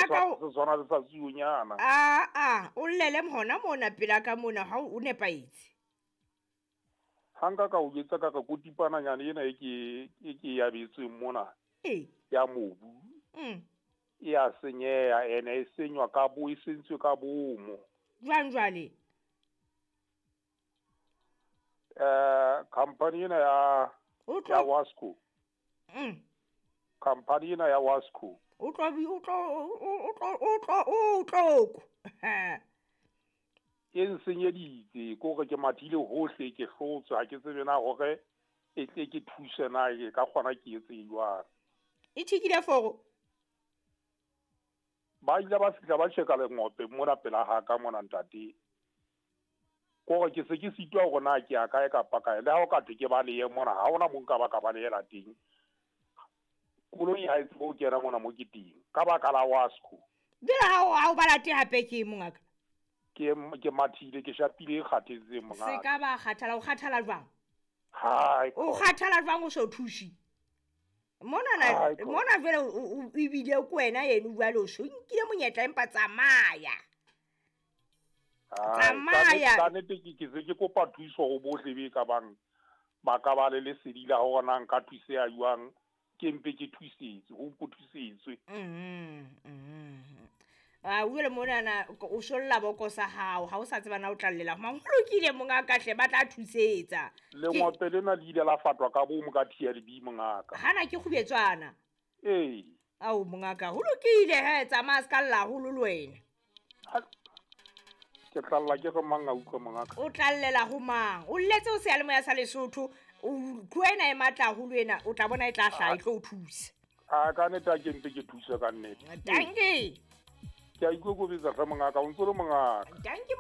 Mongaka Se tshwana le sa tsuonyana. Aa, o llele hona mona pela ka mona ha o nepahetse. Ha nka ka o jwetsa ka re kotipananyana ena e ke e abetsweng mona ya mobu. E a senyeha ene e senywa ka bo, e sentswe ka bomo. Jwang jwale? Company ena ya ya Wasco. Company ena ya Wasco. O tlo. E nsenyeditse ke hore ke mathile hohle ke hlotswe ha ke tsebe na hore e tle ke thuse na e ka kgona ke etse jwang. E thikile foro. Ba ile ba fihla ba tjheka lengope mona pela ha ka mona ntate. Kore ke se ke sitwa hore na ke ya kae kapa kae. Le ha o ka thwe ke balehe mona, ha hona mo nka ba ka balehela teng. Koloi ha e tsebe ho kena mona mo ke teng. Ka baka la Wasco. Jwale ha o ba late hape ke mongaka? Ke mathile, ke shapile e kgathetseng mongaka. Se ka ba kgathala, o kgathala jwang? Hai. O kgathala jwang o so thushi? Mona mona jwale o ebile ke wena yeno jwale o so nkile monyetla empa tsamaya. Tsamaya. Ka nnete ke se ke kopa thuso ho bohle be ka bang ba ka ba le lesedi la hore na nka thuseha jwang, ke mpe ke thusetswe, ho mpo thusetswe. A jwale monana o solla boko sa hao, ha o sa tseba na o tla llela mang. Ho lokile mongaka hle, ba tla thusetsa. Lengope lena le ile la fatwa ka bomo ka TLB mongaka. Hana ke kgubetswana. Ee. Ao mongaka, ho lokile he, tsamaya se ka lla haholo le wena. Ke tla lla ke re mang a utlwe mongaka? O tla llela ho mang? O lletse o seyalemoya sa Lesotho, o tlo ena e matla haholo ena, o tla bona e tla hlaha, e tlo o thusa. A ka nnete ha ke mpe ke thuse ka nnete. Dankie. Ke a ikokobetsa hle mongaka, o ntso le mongaka. Dankie.